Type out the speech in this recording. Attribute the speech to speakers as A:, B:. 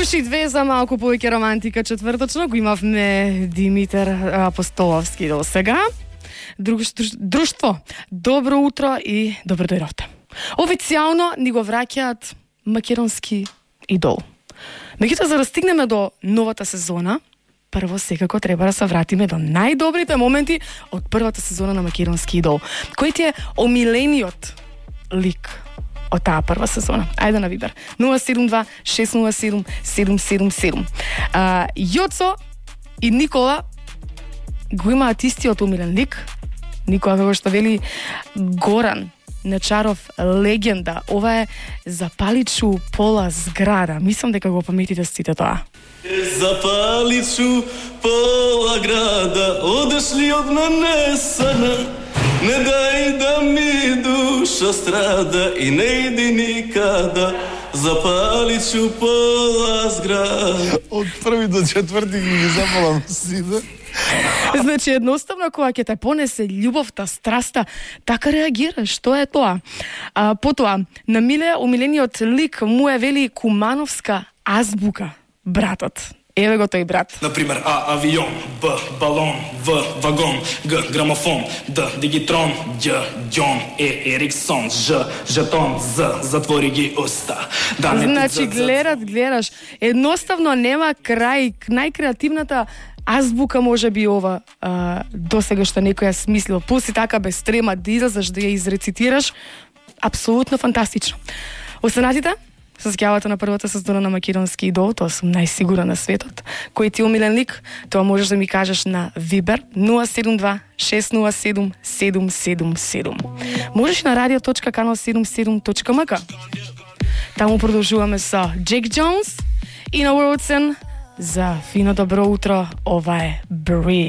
A: Уши две за малку повеќе романтика четврточно го имавме Димитар Апостоловски до сега. Друштво, добро утро и добро дојдовте. Официјално ни го враќаат македонски идол. Меѓутоа, за да стигнеме до новата сезона, прво секако треба да се вратиме до најдобрите моменти од првата сезона на македонски идол. Кој ти е омилениот лик од таа прва сезона? Ајде на Вибер. 072-607-777. Јоцо и Никола го имаат истиот омилен лик. Никола, како што вели Горан Нечаров, легенда. Ова е запаличу пола зграда. Мислам дека го паметите сите тоа.
B: Запаличу пола града, одеш ли од мене сана? Не дај да ми душа страда и не иди никада. Запаличу пола зграда.
C: Од први до четврти ги запалам сите.
A: Значи, едноставно, кога ќе те понесе љубовта, страста, така реагираш. Што е тоа? Потоа, на Миле, омилениот лик му е вели кумановска азбука. Братот. Еве го тој брат.
D: Например, А авион, Б балон, В вагон, Г грамофон, Д дигитрон, Ѓ ѓон, Е ериксон, Ж жетон, З затвори ги уста. Да не
A: Значи, гледаш, едноставно нема крај. Најкреативната азбука може би ова досега што некој ја смислил. Пуси така без трема да излезеш да ја изрецитираш. Апсолутно фантастично. Останатите се сеќавате на првата сезона на македонски идол, тоа сум најсигурна на светот. Кој ти е омилен лик? Тоа можеш да ми кажеш на Вибер 072-607-777. Можеш на radio.kanal77.mk. Таму продолжуваме со Джек Джонс и на Уордсен за фино добро утро. Ова е Breathe.